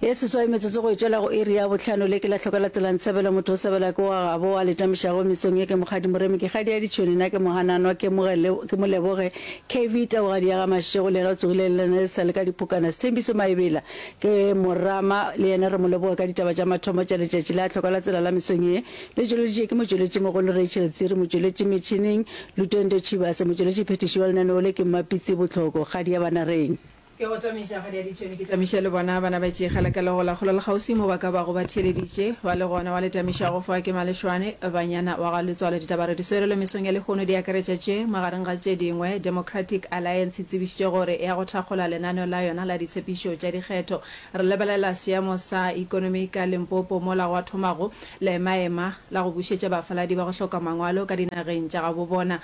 Ye seswai metsotso go e tšwela go iri ya bohlano le ke la hloka la tsela ntshebelo motho o sebela ke wa gabo a le tamišago mesong ye ke Mokgadi Moremi ke kgadi ya ditšhwene na ke mohananwa ke mogele ke moleboge KV Taugadi ya ga Mashego le yena o tsogile le lena le sa le ka diphokana Sethembiso Maebela ke morama le yena re mo leboge ka ditaba tša mathomo tša letšatši la hloka la tsela la mesong ye le tšweleditše ke motšweletši mogolo Rachel Tsiri motšweletši metšhineng Lutendo Tshivhase motšweletši phethiši wa lenaneo le ke Mmapitsi Bohloko kgadi ya Banareng. Ke go tamiša kgadi ya ditšhwene, ke tamiše le bona bana ba tšegela ka legola kgole le kgauswi mo ba ka bago ba theeleditše ba le gona. Wa le tamišago fa ke Malešwane, banyana wa ga Letswalo. Ditaba re di swerelo mesong ya lehono di akaretša tše, magareng ga tše dingwe, Democratic Alliance e tsebišitše gore e ya go thakgola lenaneo la yona la ditshepišo tša dikgetho. Re lebelela seemo sa ikonomi ka Limpopo mola gwa thomago leemaema la go bušetša bafaladi ba go hloka mangwalo ka dinageng tša gabobona.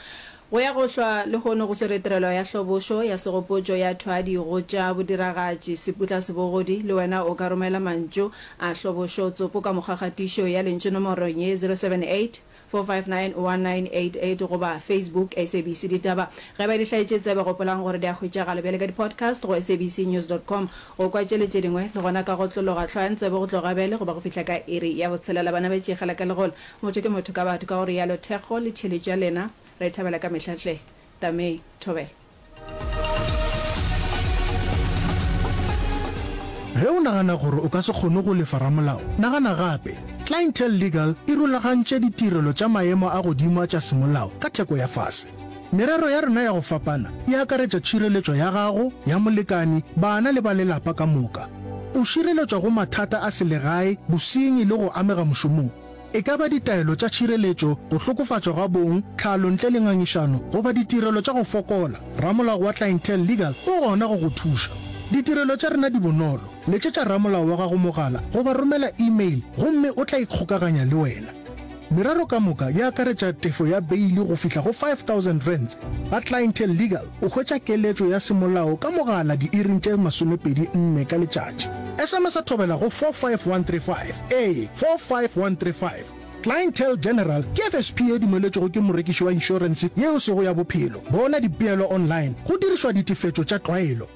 Go ya go hlwa lehono go swere tirelo ya hlobošo ya segopotšo ya thwadi go tša bodiragatši Seputla Sebogodi. Le wena o ka romela mantšu a hlobošo tsopo ka mokgwakgatišo ya lentšu nomorong ye 078 459 1988 goba Facebook SABC Ditaba. Ge ba di hlaetše tsebe gopolang gore di a hwetšagala bjale ka di-podcast go sabcnews dot com. Go kwa tše le tše dingwe le gona ka go tlologa hlwayang tsebe go tloga bjale goba go fihla ka iri ya botshelela. Bana ba tšegela ka legolo. Motho ke motho ka batho, ka go realo thekgo le tšheletšo ya lena re e thabela ka mehla hle. Tamei, thobela. Ge o nagana gore o ka se kgone go lefa ramolao, nagana gape. Clientele Legal e rulagantše ditirelo tša maemo a godimo a tša semolao ka theko ya fase. Merero ya rena ya go fapana e akaretša tšhireletšo ya gago, ya molekani, bana le ba lelapa ka moka. O šireletšwa go mathata a selegae, bosenyi le go amega mošomong. E ka ba ditaelo tša tšhireletšo, go hlokofatšwa ga bong, tlhalo ntle le ngangišano, goba ditirelo tša go fokola, ramolao wa Clientele Legal o gona go go thuša. Ditirelo tša rena di bonolo, letšetša ramolao wa gago mogala goba romela email gomme o tla ikgokaganya le wena. Merero ka moka e akaretša tefo ya beili go fihla go R5000. Ga Clientele Legal o hwetša keletšo ya semolao ka mogala diiring tše 24 ka letšatši. SMS-a thobela go 45135. Ee, 45135. Clientele General ke FSP ye dumeletšwego ke morekiši wa inšorense ye e sego ya bophelo. Bona dipeelo online go dirišwa ditefetšo tša tlwaelo.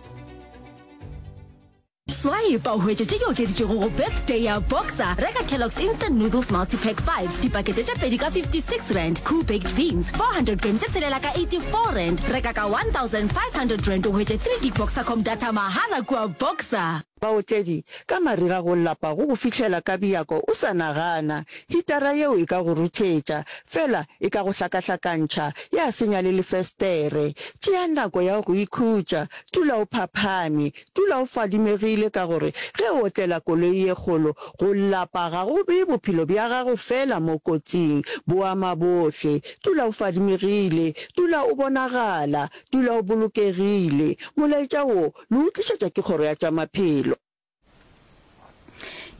Swipe o hwetše tše di okeditšwego go Birthday ya Boxer. Reka Kellogg's Instant Noodles Multipack Fives, dipakete tše pedi ka R56, Koo Baked Beans, 400 gram tše tshelela ka R84. Reka ka R1500 o hwetše 3 gig Boxercom data mahala kua Boxer. Baotledi, ka mariga go lapa go go fihlela ka bjako o sa nagana. Hitara yeo e ka go ruthetša, fela e ka go hlakahlakantšha, ya senya le lefestere. Tšea nako ya go ikhutša, dula o phaphame, Dula o fadimegile ka gore ge o otlela koloi ye kgolo, go lapa ga go bee bophelo bja gago feela mo kotsing, bo ama bohle. Dula o fadimegile, dula o bonagala, dula o bolokegile. Molaetša wo le o tlišetša ke Kgoro ya tša Maphelo.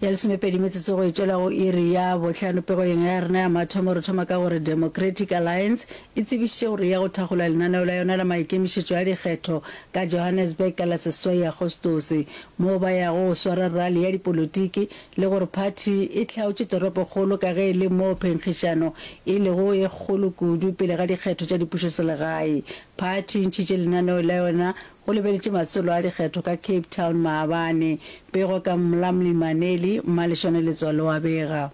Ya lesomepedi metsotso go e tšwela go iri ya bohlano pegong ya rena ya mathomo re thoma ka gore Democratic Alliance e tsebišitše gore e ya go thakgola lenaneo la yona la maikemišetšo a dikgetho ka Johannesburg ka la seswai Agostose moo ba yago go swara rally ya dipolotiki le gore phathi e hlaotše toropokgolo ka ge e le moo phenkgišano e lego e kgolo kudu pele ga dikgetho tša dipušoselegae. Phathi e ntšhitše lenaneo la yona Go lebeletše masolo a dikgetho ka Cape Town maabane. Pego ka Mlamli Maneli, Mmaleshwane Letswalo wa bega.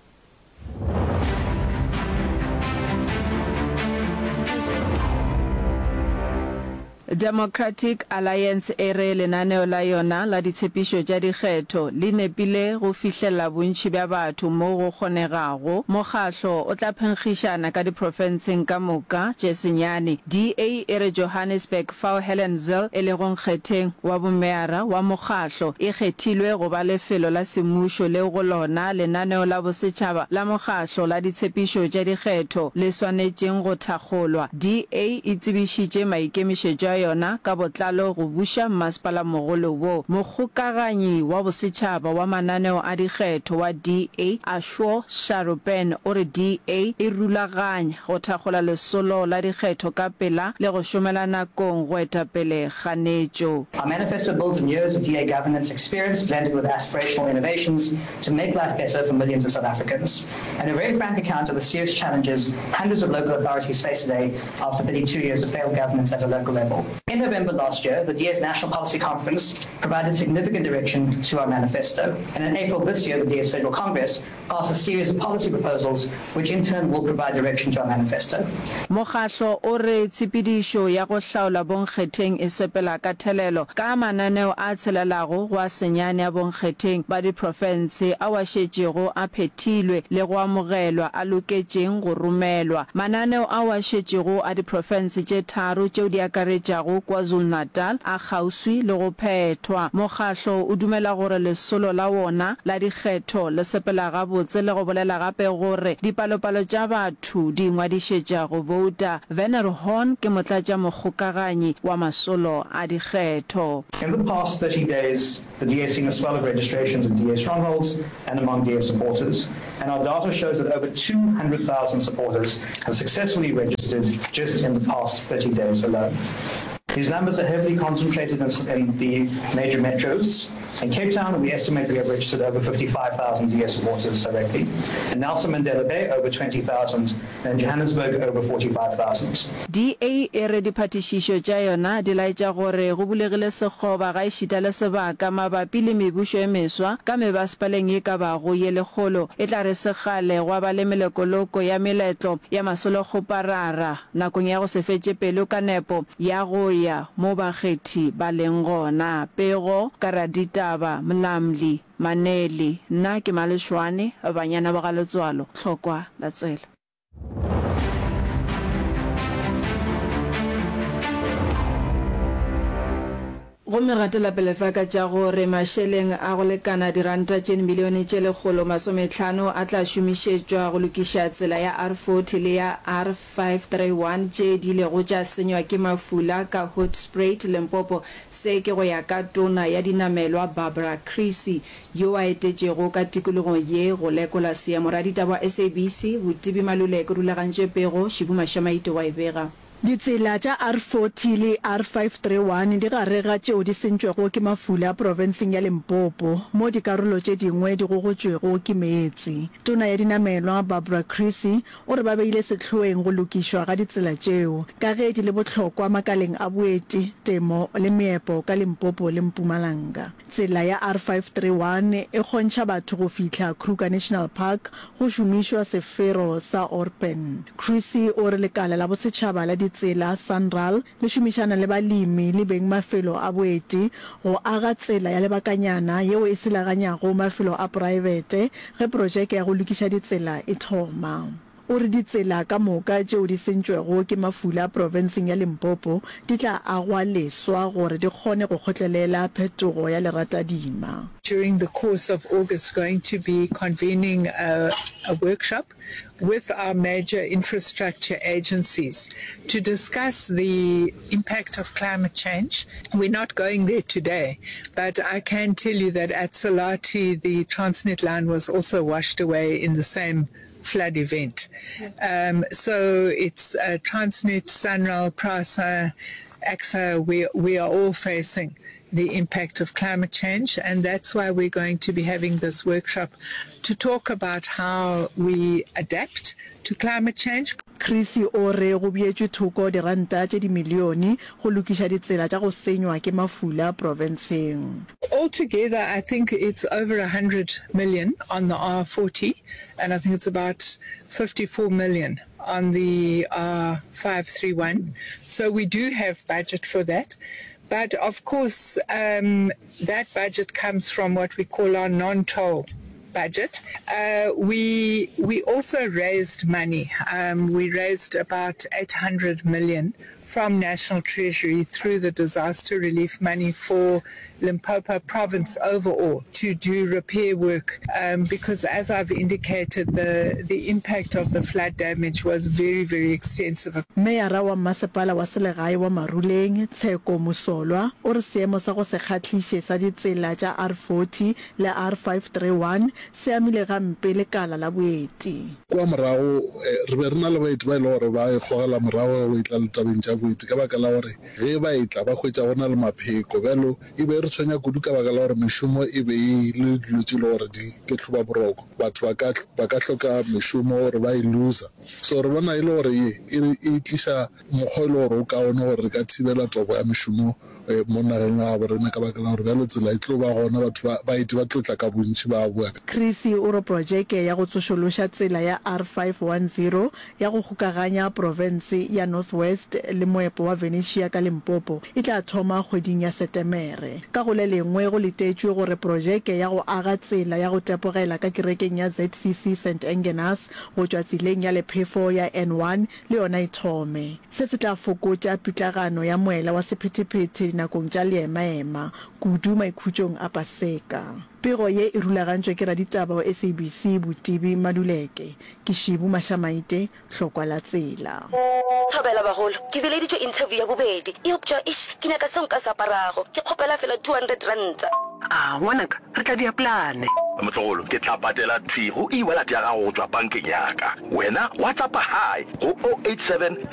Democratic Alliance e re lenaneo la yona la ditshepišo tša dikgetho le nepile go fihlela bontši bja batho mo go kgonegago. Mokgahlo o tla phenkgišana ka diprofenseng ka moka tše senyane. DA e re Johannesburg fao Helen Zille e lego nkgetheng wa bomeyara wa mokgahlo, e kgethilwe go ba lefelo la semmušo leo go lona lenaneo la bosetšhaba la mokgahlo la ditshepišo tša dikgetho le swanetšeng go thakgolwa. DA e tsebišitše maikemišetšo a yona ka botlalo go buša mmasepalamogolo wo. Mokgokaganyi wa bosetšhaba wa mananeo a dikgetho wa DA, Ashwo Sarupen o re DA e rulaganya go thakgola lesolo la dikgetho ka pela le go šomela nakong go eta pele kganetšo. Our manifesto builds on years of DA governance experience blended with aspirational innovations to make life better for millions of South Africans, and a very frank account of the serious challenges hundreds of local authorities face today after 32 years of failed governance at a local level. In November last year, the DA's National Policy Conference provided significant direction to our manifesto, and in April this year, the DA's Federal Congress passed a series of policy proposals which in turn will provide direction to our manifesto. Mokgahlo o re tshepedišo ya go hlaola bonkgetheng e sepela ka thelelo ka mananeo a tshelelago go a senyane a bonkgetheng ba diprofense ao a šetšego a phethilwe le go amogelwa a loketšeng go romelwa. Mananeo ao a šetšego a diprofense tše tharo tšeo di akaretšago KwaZulu-Natal a kgauswi le go phethwa. Mokgahlo o dumela gore lesolo la wona la dikgetho le sepela gabotse le go bolela gape gore dipalopalo tša batho di ingwadišetša go bouta. Werner Horn ke motlatšamokgokaganyi wa masolo a dikgetho. In the past 30 days, the DA has seen a swell of registrations in DA strongholds and among DA supporters, and our data shows that over 200,000 supporters have successfully registered just in the past 30 days alone. These numbers are heavily concentrated in, in the major metros. In Cape Town, we estimate we have registered over 55,000 DA supporters directly. In Nelson Mandela Bay, over 20,000, and in Johannesburg, over 45,000. DA e re diphatišišo tša yona di laetša gore go bulegile sekgoba gaešita le sebaka mabapi le mebušo e meswa ka mebasepaleng ye ka bago ye lekgolo. E tla re se kgale gwa ba le melekoloko ya meletlo ya masolokgoparara nakong ya go se fetše pelo ka nepo ya go ya mo bakgethi ba leng gona. Pego ka raditaba Mlamli Maneli, Nna ke Malešwane, banyana ba ga Letswalo, Tlhokwa la tsela. Gomme gatela pele fa ka tša gore mašeleng a go lekana diranta tše dimilione tše 150 a tla šomišetšwa go lokiša tsela ya R40 le ya R531 tše di ilego tša senywa ke mafula ka Hoedspruit, Limpopo. Se ke go ya ka Tona ya Dinamelwa Barbara Creecy yo a etetšego ka tikologong ye go lekola seemo. Raditaba wa SABC, Botibi Maluleke o rulagantše pego, Šibu Mašamaite wa e bega. Ditsela tša R40 le R531 di gare ga tšeo di sentšwego ke mafula profenseng ya Limpopo, mo dikarolo tše dingwe di gogotšwego ke meetse. Tona ya Dinamelwa, Barbara Creecy, o re ba beile sehloeng go lokišwa ga ditsela tšeo, ka ge di le bohlokwa makaleng a boeti, temo le meepo ka Limpopo le Mpumalanga. Tsela ya R531 e kgontšha batho go fihla Kruger National Park go šomišwa sefero sa Orpen. Creecy o re lekala la bosetšhaba la ditsela, SANRAL, le šomišana le balemi le bengmafelo a boeti go aga tsela ya lebakanyana yeo e selaganyago mafelo a poraebete ge projeke ya go lokiša ditsela e thoma. O re ditsela ka moka tšeo di sentšwego ke mafula profenseng ya Limpopo di tla agwa leswa gore di kgone go kgotlelela phetogo ya leratadima. During the course of August going to be convening a a workshop with our major infrastructure agencies to discuss the impact of climate change. We're not going there today, but I can tell you that at Selati the Transnet line was also washed away in the same flood event. Um, so it's uh, Transnet, Sanral, PRASA, AXA, we, we are all facing the impact of climate change, and that's why we're going to be having this workshop to talk about how we adapt to climate change. Creecy o re go beetšwe thoko diranta tše dimilione go lokiša ditsela tša go senywa ke mafula profenseng. Altogether, I think it's over 100 million on the R40 and I think it's about 54 million on the R531. So we do have budget for that. But of course, um, that budget comes from what we call our non-toll budget. Uh, we we also raised money. Um, we raised about 800 million from National Treasury through the disaster relief money for Limpopo province overall to do repair work um, because as I've indicated the the impact of the flood damage was very very extensive. Meyara wa Mmasepala wa Selegae wa Maruleng, Tsheko Mosolwa, o re seemo sa go se kgahliše sa ditsela tša R40 le R531 se amile gampe lekala la boeti. Kua morago, re be re na le baeti ba e le gore ba ikgogela morago ge go etla le tabeng tša. boeti ka baka la gore ge ba etla ba hwetša go na le mapheko. Bjalo e be e re tshwenya kudu ka baka la gore mešomo e be e le dilo tše e le gore di ke hloba boroko. Batho ba ka ba ka hloka mešomo gore ba e looser. So re bona e le gore ye e e tliša mokgwa e le gore o kaone gore re ka thibela tobo ya mešomo mo nageng ya gabo rena ka baka la gore bjalo tsela e tlo ba gona batho ba baeti ba tlo tla ka bontši ba boa. Creecy o re projeke ya go tsošološa tsela ya R510 ya go kgokaganya profense ya North West le moepo wa Venetia ka Limpopo e tla thoma kgweding ya Setemere. Ka go le lengwe go letetšwe gore projeke ya go aga tsela ya go tepogela ka kerekeng ya ZCC St Engenas go tšwa tseleng ya lephefo ya N1 le yona e thome. Se se tla fokotša pitlagano ya moela wa sephethephethe dinakong tša leemaema, kudu maikhutšong a Paseka. Pego ye e rulagantšwe ke raditaba wa SABC Botibi Maluleke. Ke Šibu Mašamaite, Hlokwa la Tsela. Thobela bagolo, ke bileditšwe interview ya bobedi, eupša eish ke nyaka seo nka se aparago. Ke kgopela fela R200. A, ngwanaka, re tla dia plane. Motlogolo, ke tla patela thwi go e-wallet ya gago go tšwa bankeng ya ka. Wena WhatsAppa hi go 087.